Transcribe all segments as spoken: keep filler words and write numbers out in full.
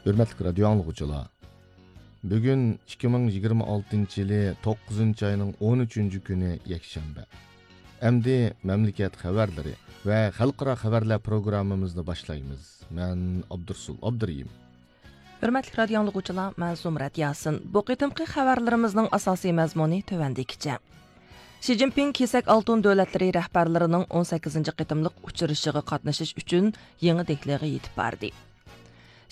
ھۆرمەتلىك رادىيو ئاڭلىغۇچىلار، بۈگۈن ئىككى مىڭ يىگىرمە ئالتىنچى يىلى توققۇزىنچى ئاينىڭ ئون ئۈچىنچى كۈنى يەكشەنبە. ئەمدى مەملىكەت خەۋەرلىرى ۋە خەلقئارا خەۋەرلەر پروگراممىمىزنى باشلايمىز. مەن ئابدۇرسۇل ئابدۇرېھىم. ھۆرمەتلىك رادىيو ئاڭلىغۇچىلار، مەن زۇمرەت ياسىن. بۇ قېتىمقى خەۋەرلىرىمىزنىڭ ئاساسىي مەزمۇنى تۆۋەندىكىچە. شى جىنپىڭ كېسەك ئالتۇن دۆلەتلىرى رەھبەرلىرىنىڭ ئون سەككىزىنچى قېتىملىق ئۇچرىشىشىغا قاتنىشىش ئۈچۈن يېڭى دېھلىغا يېتىپ باردى.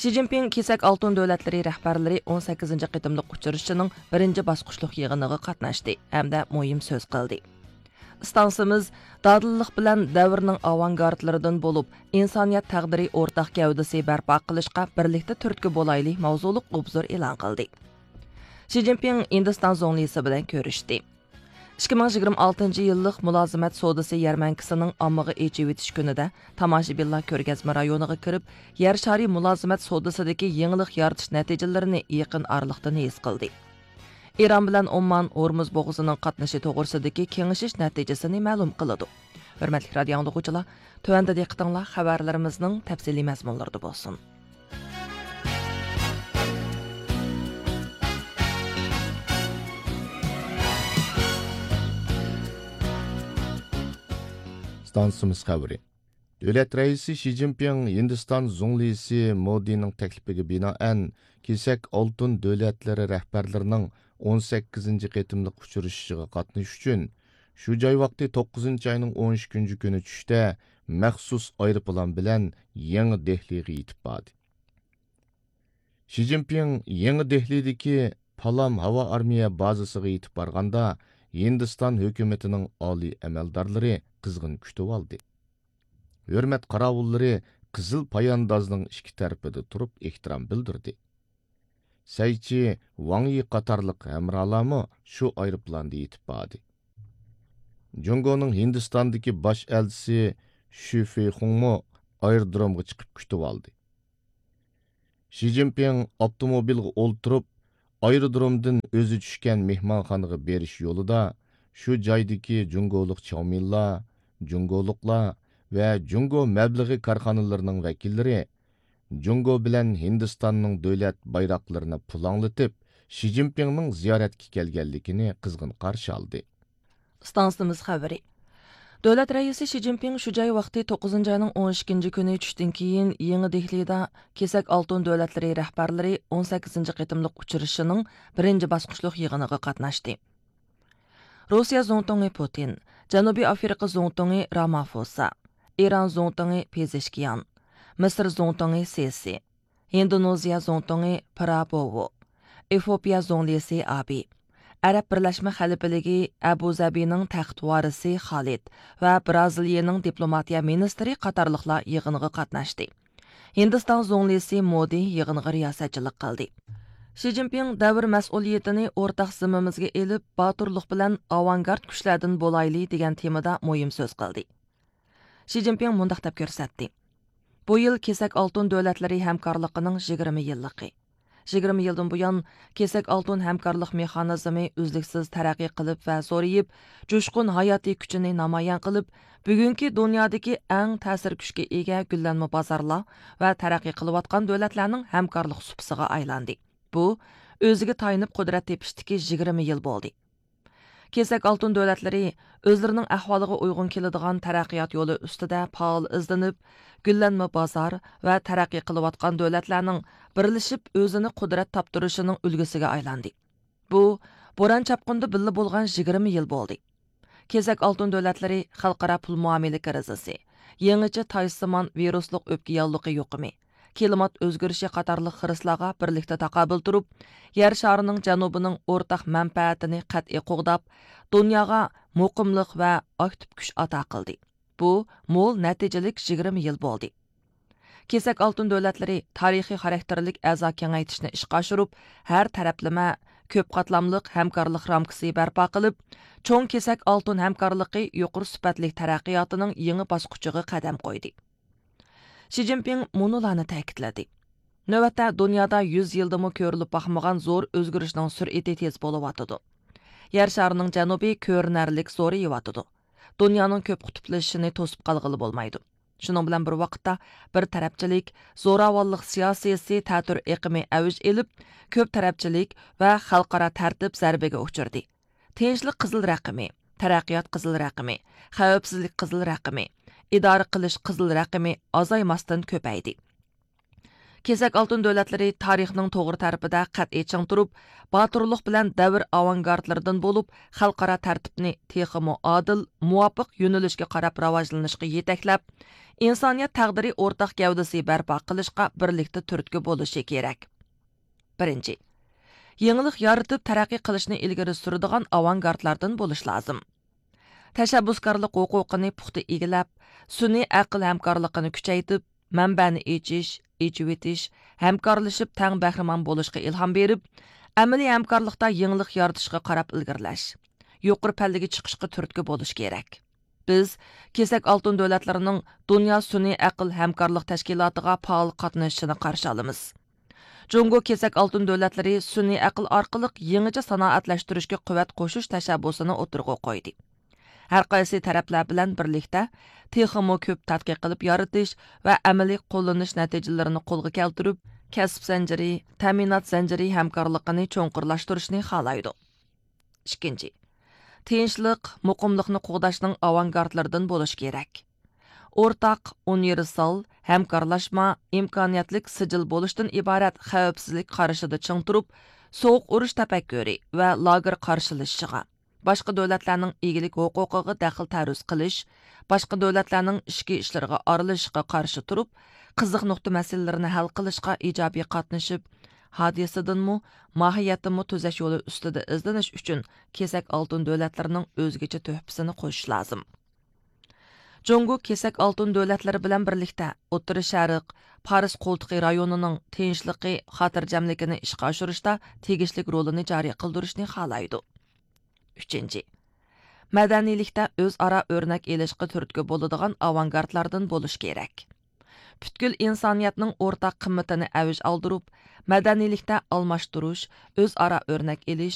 شى جىنپىڭ كېسەك ئالتۇن دۆلەتلىرى رەھبەرلىرى ئون سەككىزىنچى قېتىملىق ئۇچرىشىشىنىڭ بىرىنچى باسقۇچلۇق يىغىنىغا قاتناشتى ھەمدە مۇھىم سۆز قىلدى. ئىستانسىمىز دادىللىق بىلەن دەۋرنىڭ ئاۋانگارتلىرىدىن بولۇپ، ئىنسانىيەت تەقدىرى ئورتاق گەۋدىسى بەرپا قىلىشقا بىرلىكتە تۈرتكە بولايلى ماۋزۇلۇق ئوبزور ئېلان قىلدى. شى جىنپىڭ ھىندىستان زۇڭلىسى بىلەن كۆرۈشتى. ئىككى مىڭ يىگىرمە ئالتىنچى يىللىق مۇلازىمەت سودىسى يەرمەنكىسىنىڭ ئاممىغا ئېچىۋېتىش كۈنىدە تاماشىبىنلار كۆرگەزمە رايونىغا كىرىپ، يەر شارى مۇلازىمەت سودىسىدىكى يېڭىلىق يارىتىش نەتىجىلىرىنى يېقىن ئارىلىقتىن ھېس قىلدى. ئىران بىلەن ئومان ھورمۇز بوغۇزىنىڭ قاتنىشى توغرىسىدىكى كېڭىشىش نەتىجىسىنى مەلۇم قىلىدۇ. ھۆرمەتلىك رادىيو ئاڭلىغۇچىلار، تۆۋەندە دىققىتىڭلار خەۋەرلىرىمىزنىڭ تەپسىلىي مەزمۇنلىرىدا بولسۇن. ئىستانسىمىز خەۋىرى. دۆلەت رەئىسى شى جىنپىڭ ھىندىستان زۇڭلىسى مودىنىڭ تەكلىپىگە بىنائەن، كېسەك ئالتۇن دۆلەتلىرى رەھبەرلىرىنىڭ ئون سەككىزىنچى قېتىملىق ئۇچرىشىشىغا قاتنىشىش ئۈچۈن، شۇ جاي ۋاقتى توققۇزىنچى ئاينىڭ ئون ئىككىنچى كۈنى چۈشتە مەخسۇس ئايروپىلان بىلەن يېڭى دېھلىغا يېتىپ باردى. شى جىنپىڭ يېڭى دېھلىدىكى پالام ھاۋا ئارمىيە بازىسىغا يېتىپ بارغاندا، ھىندىستان ھۆكۈمىتىنىڭ ئالىي ئەمەلدارلىرى قىزغىن كۈتۈۋالدى. ھۆرمەت قاراۋۇللىرى قىزىل پاياندازنىڭ ئىككى تەرىپىدە تۇرۇپ ئېھتىرام بىلدۈردى. سەيچى ۋاڭ يى قاتارلىق ھەمراھلارمۇ شۇ ئايروپىلاندا يېتىپ باردى. جۇڭگونىڭ ھىندىستاندىكى باش ئەلچىسى شۈ فېيخۇڭمۇ ئايرودرومغا چىقىپ كۈتۈۋالدى. شى جىنپىڭ ئاپتوموبىلغا ئولتۇرۇپ، ئايرودرومدىن ئۆزى چۈشكەن مېھمانخانىغا بېرىش يولىدا شۇ جايدىكى جۇڭگولۇق چاۋمىنلار، جۇڭگولۇقلار ۋە جۇڭگو مەبلىغى كارخانىلىرىنىڭ ۋەكىللىرى جۇڭگو بىلەن ھىندىستاننىڭ دۆلەت بايراقلىرىنى پۇلاڭلىتىپ، شى جىنپىڭنىڭ زىيارەتكە كەلگەنلىكىنى قىزغىن قارشى ئالدى. ئىستانسىمىز خەۋىرى. دۆلەت رەئىسى شى جىنپىڭ شۇ جاي ۋاقتى توققۇزىنچى ئاينىڭ ئون ئىككىنچى كۈنى چۈشتىن كېيىن يېڭى دېھلىدا كېسەك ئالتۇن دۆلەتلىرى رەھبەرلىرى ئون سەككىزىنچى قېتىملىق ئۇچرىشىشىنىڭ بىرىنچى باسقۇچلۇق يىغىنىغا قاتناشتى. روسىيە زۇڭتۇڭى پۇتىن، جەنۇبىي ئافرىقا زۇڭتۇڭى رامافوسا، ئىران زۇڭتۇڭى پېزېشكىيان، مىسىر زۇڭتۇڭى سىسى، ھىندونېزىيە زۇڭتۇڭى پرابوۋو، ئېفىئوپىيە زۇڭلىسى ئابى، ئەرەب بىرلەشمە خەلىپىلىكى ئەبۇزەبىنىڭ تەخت ۋارىسى خالىد ۋە برازىلىيىنىڭ دىپلوماتىيە مىنىستىرى قاتارلىقلار يىغىنغا قاتناشتى. ھىندىستان زۇڭلىسى مودى يىغىنغا رىياسەتچىلىك قىلدى. شى جىنپىڭ دەۋر مەسئۇلىيىتىنى ئورتاق زىممىمىزگە ئېلىپ، باتۇرلۇق بىلەن ئاۋانگارت كۈچلەردىن بولايلى دېگەن تېمىدا مۇھىم سۆز قىلدى. شى جىنپىڭ مۇنداق دەپ كۆرسەتتى: بۇ يىل كېسەك ئالتۇن دۆلەتلىرى ھەمكارلىقىنىڭ يىگىرمە يىللىقى. يىگىرمە يىلدىن بۇيان، كېسەك ئالتۇن ھەمكارلىق مېخانىزمى ئۈزلۈكسىز تەرەققىي قىلىپ ۋە زورىيىپ، جۇشقۇن ھاياتىي كۈچىنى نامايان قىلىپ، بۈگۈنكى دۇنيادىكى ئەڭ تەسىر كۈچكە ئىگە گۈللەنمە بازارلار ۋە تەرەققىي قىلىۋاتقان دۆلەتلەرنىڭ ھەمكارلىق سۇپىسىغا ئايلاندى. بۇ، ئۆزىگە تايىنىپ قۇدرەت تېپىشتىكى يىگىرمە يىل بولدى. كېسەك ئالتۇن دۆلەتلىرى ئۆزلىرىنىڭ ئەھۋالىغا ئۇيغۇن كېلىدىغان تەرەققىيات يولى ئۈستىدە پائال ئىزدىنىپ، گۈللەنمە بازار ۋە تەرەققىي قىلىۋاتقان دۆلەتلەرنىڭ بىرلىشىپ ئۆزىنى قۇدرەت تاپتۇرۇشىنىڭ ئۈلگىسىگە ئايلاندى. بۇ، بوران چاپقۇندا بىللە بولغان يىگىرمە يىل بولدى. كېسەك ئالتۇن دۆلەتلىرى خەلقئارا پۇل مۇئامىلە كىرىزىسى، يېڭىچە تايسىمان ۋىرۇسلۇق ئۆپكە ياللۇغى يۇقۇمى، كىلىمات ئۆزگىرىشى قاتارلىق خىرىسلارغا بىرلىكتە تاقابىل تۇرۇپ، يەر شارىنىڭ جەنۇبىنىڭ ئورتاق مەنپەئەتىنى قەتئىي قوغداپ، دۇنياغا مۇقىملىق ۋە ئاكتىپ كۈچ ئاتا قىلدى. بۇ، مول نەتىجىلىك يىگىرمە يىل بولدى. كېسەك ئالتۇن دۆلەتلىرى تارىخىي خاراكتېرلىك ئەزا كېڭەيتىشنى ئىشقا ئاشۇرۇپ، ھەر تەرەپلىمە، كۆپ قاتلاملىق ھەمكارلىق رامكىسى بەرپا قىلىپ، چوڭ كېسەك ئالتۇن ھەمكارلىقى يۇقىرى سۈپەتلىك تەرەققىياتىنىڭ يېڭى باسقۇچىغا قەدەم قويدى. شى جىنپىڭ مۇنۇلارنى تەكىتلىدى: نۆۋەتتە دۇنيادا يۈز يىلدىمۇ كۆرۈلۈپ باقمىغان زور ئۆزگىرىشنىڭ سۈرئىتى تېز بولۇۋاتىدۇ. يەر شارىنىڭ جەنۇبى كۆرۈنەرلىك زورىيىۋاتىدۇ. دۇنيانىڭ كۆپ قۇتۇپلىشىشىنى توسۇپ قالغىلى بولمايدۇ. شۇنىڭ بىلەن بىر ۋاقىتتا، بىر تەرەپچىلىك، زوراۋانلىق سىياسىيسى تەتۈر ئېقىمى ئەۋج ئېلىپ، كۆپ تەرەپچىلىك ۋە خەلقئارا تەرتىپ زەربىگە ئۇچرىدى. تىنچلىق قىزىل رەقىمى، تەرەققىيات قىزىل رەقىمى، خەۋپسىزلىك قىزىل رەقىمى، ئىدارە قىلىش قىزىل رەقىمى ئازايماستىن كۆپەيدى. كېسەك ئالتۇن دۆلەتلىرى تارىخنىڭ توغرا تەرىپىدە قەتئىي چىڭ تۇرۇپ، باتۇرلۇق بىلەن دەۋر ئاۋانگارتلىرىدىن بولۇپ، خەلقئارا تەرتىپنى تېخىمۇ ئادىل، مۇۋاپىق يۆنىلىشكە قاراپ راۋاجلىنىشقا يېتەكلەپ، ئىنسانىيەت تەقدىرى ئورتاق گەۋدىسى بەرپا قىلىشقا بىرلىكتە تۈرتكە بولۇشى كېرەك. بىرىنچى، يېڭىلىق يارىتىپ تەرەققىي قىلىشنى ئىلگىرى سۈرىدىغان ئاۋانگارتلاردىن بولۇش لازىم. تەشەببۇسكارلىق ھوقۇقىنى پۇختا ئىگىلەپ، سۈنئىي ئەقىل ھەمكارلىقىنى كۈچەيتىپ، مەنبەنى ئېچىش، ئېچىۋېتىش، ھەمكارلىشىپ تەڭ بەھرىمەن بولۇشقا ئىلھام بېرىپ، ئەمەلىي ھەمكارلىقتا يېڭىلىق يارىتىشقا قاراپ ئىلگىرىلەش، يۇقىرى پەللىگە چىقىشقا تۈرتكە بولۇش كېرەك. بىز كېسەك ئالتۇن دۆلەتلىرىنىڭ دۇنيا سۈنئىي ئەقىل ھەمكارلىق تەشكىلاتىغا پائال قاتنىشىشىنى قارشى ئالىمىز. جۇڭگو كېسەك ئالتۇن دۆلەتلىرى سۈنئىي ئەقىل ئارقىلىق يېڭىچە سانائەتلەشتۈرۈشكە قۇۋۋەت قوشۇش تەشەببۇسىنى ئوتتۇرىغا قويدى. ھەر قايسى تەرەپلەر بىلەن بىرلىكتە تېخىمۇ كۆپ تەتقىق قىلىپ يارىتىش ۋە ئەمەلىي قوللىنىش نەتىجىلىرىنى قولغا كەلتۈرۈپ، كەسىپ زەنجىرى، تەمىنات زەنجىرى ھەمكارلىقىنى چوڭقۇرلاشتۇرۇشنى خالايدۇ. ئىككىنچى، تىنچلىق، مۇقىملىقنى قوغداشنىڭ ئاۋانگارتلىرىدىن بولۇش كېرەك. ئورتاق، ئۇنىۋېرسال، ھەمكارلاشما، ئىمكانىيەتلىك سىجىل بولۇشتىن ئىبارەت خەۋپسىزلىك قارىشىدا چىڭ تۇرۇپ، سوغۇق ئۇرۇش تەپەككۇرى ۋە لاگېر قارشىلىشىشىغا، باشقا دۆلەتلەرنىڭ ئىگىلىك ھوقۇقىغا دەخلى تەرۇز قىلىش، باشقا دۆلەتلەرنىڭ ئىچكى ئىشلىرىغا ئارىلىشىشقا قارشى تۇرۇپ، قىزىق نۇقتا مەسىلىلىرىنى ھەل قىلىشقا ئىجابىي قاتنىشىپ، ھادىسىدىنمۇ، ماھىيەتتىنمۇ تۈزەش يولى ئۈستىدە ئىزدىنىش ئۈچۈن كېسەك ئالتۇن دۆلەتلىرىنىڭ ئۆزگىچە تۆھپىسىنى قوشۇش لازىم. جۇڭگو كېسەك ئالتۇن دۆلەتلىرى بىلەن بىرلىكتە ئوتتۇرا شەرق، پارس قولتۇقى رايونىنىڭ تىنچلىقى، خاتىرجەملىكىنى ئىشقا ئاشۇرۇشتا تېگىشلىك رولىنى جارى قىلدۇرۇشنى خالايدۇ. ئۈچىنچى، مەدەنىيلىكتە ئۆزئارا ئۆرنەك ئېلىشقا تۈرتكە بولىدىغان ئاۋانگارتلاردىن بولۇش كېرەك. پۈتكۈل ئىنسانىيەتنىڭ ئورتاق قىممىتىنى ئەۋج ئالدۇرۇپ، مەدەنىيلىكتە ئالماشتۇرۇش، ئۆزئارا ئۆرنەك ئېلىش،